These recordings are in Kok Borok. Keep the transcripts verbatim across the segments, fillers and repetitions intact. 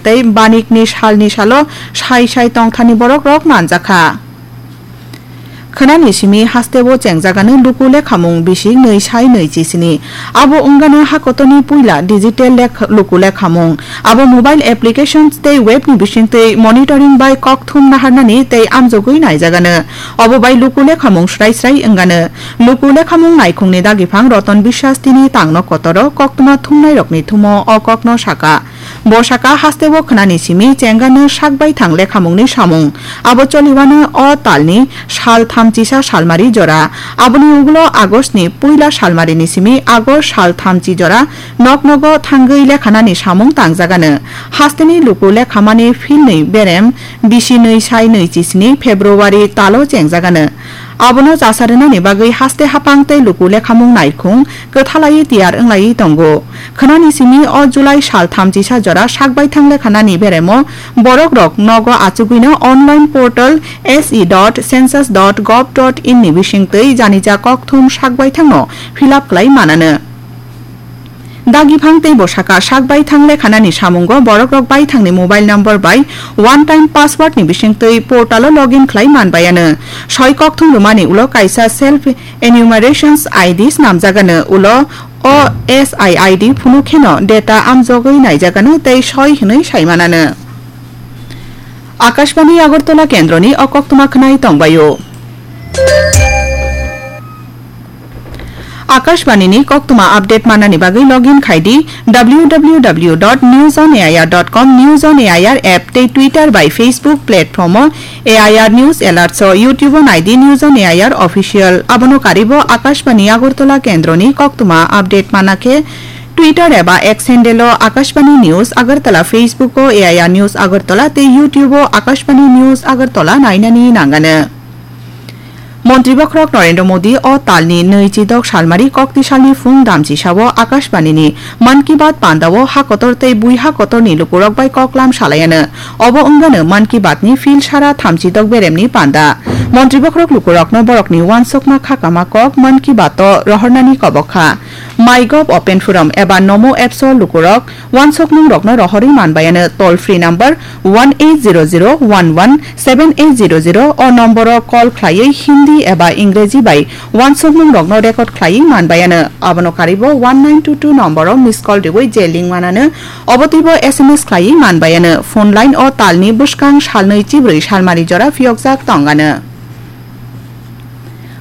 tei banikni salni salo sai sai tongthani borokrok manjakha. Khwnani simi hasteo chengjagano luku lekhamung bising nwi sai nwi chisini. Abo wngano hakotorni puila digital lekh-, luku lekhamung. Abo mobile applications tei webni bisingtwi monitoring bai kokthum naharnani tei amjogwi naijagano. Obo bai luku lekhamung srai srai wngano. Luku lekhamung naikhungni dagiphang Roton Biswas tini tangno kotoro koktwma thumnairokni thumo o kokno saka. Bo saka hasteo khwnani simi chengano sak baithang lekhamungni samung. Abo choliwano o talni sal thamchisa salmari jora. Aboni ugulo Augustni puila salmarini simi August sal thamchi jora nok nogo thangwi lekhanani samung tangjagano. Hasteni luku lekhamani philnwi berem bisi nwi sai nwi chisini February talo chengjagano. Abono chasa rwnani bagwi haste hapang tei luku lekhamung naikhung kwthalaiwi tiyar wnglaiwi tongo. Khwnani simi o July sal thamchisa jora sak baithang lekhanani beremo borokrok nogo achugwino online portal S E dot census dot gov dot in ni bisingtwi janija kokthum sak baithangno fill up khlai manano. Dagiphang tei bwsaka sak baithang lekhanani samungo borokrok baithangni mobile number bai one time password ni bisingtwi portalo login khlai manbayano. Soi kokthum rwmani ulo kaisa self enumerations I D snamjagano, ulo o S I I D phunuk kheno data amjogwi naijagano tei soi hwnwi saimanano. Akashbani Agartala kendroni o koktwma khwnai tongbaio. Akashbani ni koktwma update manani bagwi login khai di W W W dot news on A I R dot com, News on A I R app tei Twitter bai Facebook platform o A I R News Alerts o, YouTube o nai di News on A I R Official. Abono karibo Akashbani Agartala kendroni koktwma update mana khe Twitter eba X handle o Akashbani News Agartala, Facebook o A I R News Agartala tei YouTube o Akashbani News Agartala nainani nangano. Montri Bokhorok Narendra Modi o talni nwi chidok salmari kokti salni phung damchisao Akashbani ni Mann Ki Baat panda o ha kotor tei bui ha kotorni lukurok bai koklam salaiano. Obo wngano Mann Ki Baat ni phil sara thamchidok beremni panda. Montri Bokhorok lukurokno borokni uansukma khakama kok Mann Ki Baat o rohornani kobok kha. MyGov Open Forum eba Namo Apps o lukurok uansukmungrokno rohorwi manbayano toll free number one eight zero zero one one seven eight zero zero o nomboro call khlaiwi Hindi eba Ingreji bai uansukmungrokno record khlaiwi manbayano. Abono karibo one nine two two nomboro miss call riwi je link manano, obo twibo S M S khlaiwi manbayano. Phone line o talni bwskang salnwi chibrwi salmari jora phiyokjak tongano.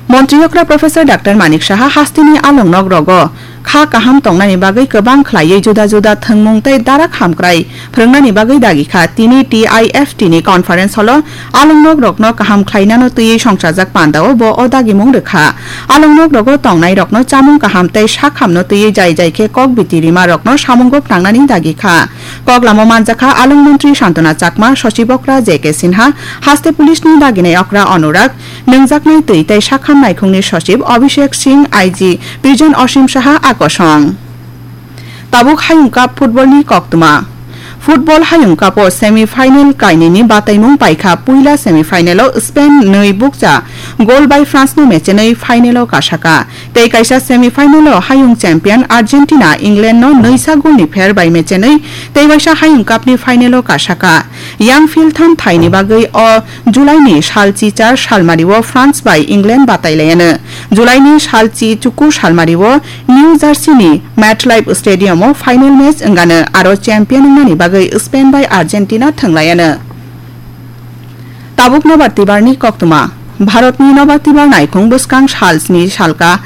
Montri okra Professor Doctor Manik Saha hasteni alongnok rogo kha kaham tongnani bagwi kwbang khlaiwi juda juda thwngmung tei darak hamkrai phwrwngnani bagwi dagi kha. Tini T I F T ni conference hall o alongnok rokno kaham khlainano twiwi songchajak pandao bo o dagimung rwkha. Alongnok rogo tongnai rokno chamung kaham tei sak hamno twiwi jai jai khe kok biti rima rokno samungo phnangnani dagi kha. Koklamo manjakha along montri Santona Chakma, sochib okra J K Sinha, haste police ni daginai okra Anurag, Nwngjaknai twi tei sakham naikhungni sochib Abhishek Singh, I G Bijan Osim Saha a kosong. Tabuk Hayung Cup football ni koktwma. Football Hayung Cup o semi final kainwini bataimung paikha. Puila semi final o Spain nwi bukcha goal bai France no mechenwi final o kasaka. Tei kaisa semi final o Hayung champion Argentina England no nwisa goal ni pher bai mechenwi tei waisa Hayung Cup ni final o kasaka. Yang philtham thaini bagwi o July ni sal chichar salmari o France bai England batai laiano. July ni sal chi chuku salmari o New Jersey ni MetLife Stadium o final match wngano, aro champion wngnani bagwi Spain bai Argentina thwng laiano. Tabuk nobar tibar ni koktwma. Bharat ni nobar tibar naikhung bwskang sal sni salka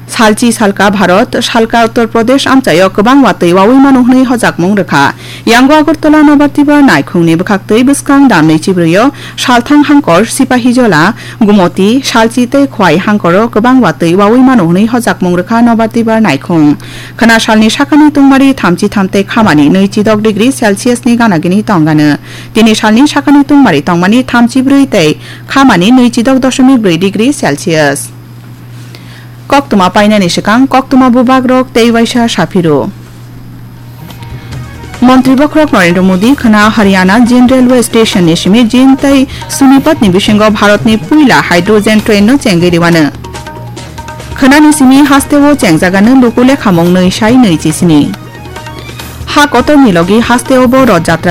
Salchi salka Bharat, salka Uttar Pradesh amchaio kwbang watwi wawi mano hwnwi hojakmung rwkha. Yango Agartala nobar tibar naikhungni bwkhaktwi bwskang damni chibrwio salthang hangkor Sipahijola, Gumoti, Salchi tei Khwai hangkoro kwbang watwi wawi mano hwnwi hojakmung rwkha nobar tibar naikhung. Khwna salni sakani tungmari thamchi tham tei khamani nwi chidok degree Celsius ni ganagini tongano. Tini salni sakani tungmari tongmani thamchi brwi tei khamani nwi chidok doshomik brwi degree Celsius. Koktwma painani swkang koktwma bubagrok tei waisa saphiro. Montri bokhorok Narendra Modi khwna Haryana Jin Railway Station ni simi Jin tei Sonipat ni bisingo Bharat ni puila hydrogen train no chengwi rwano. Khwnani simi hasteo chengjagano luku lekhamung nwi sai nwi chi sini. Ha kotor ni logi hasteo bo Rath Jatra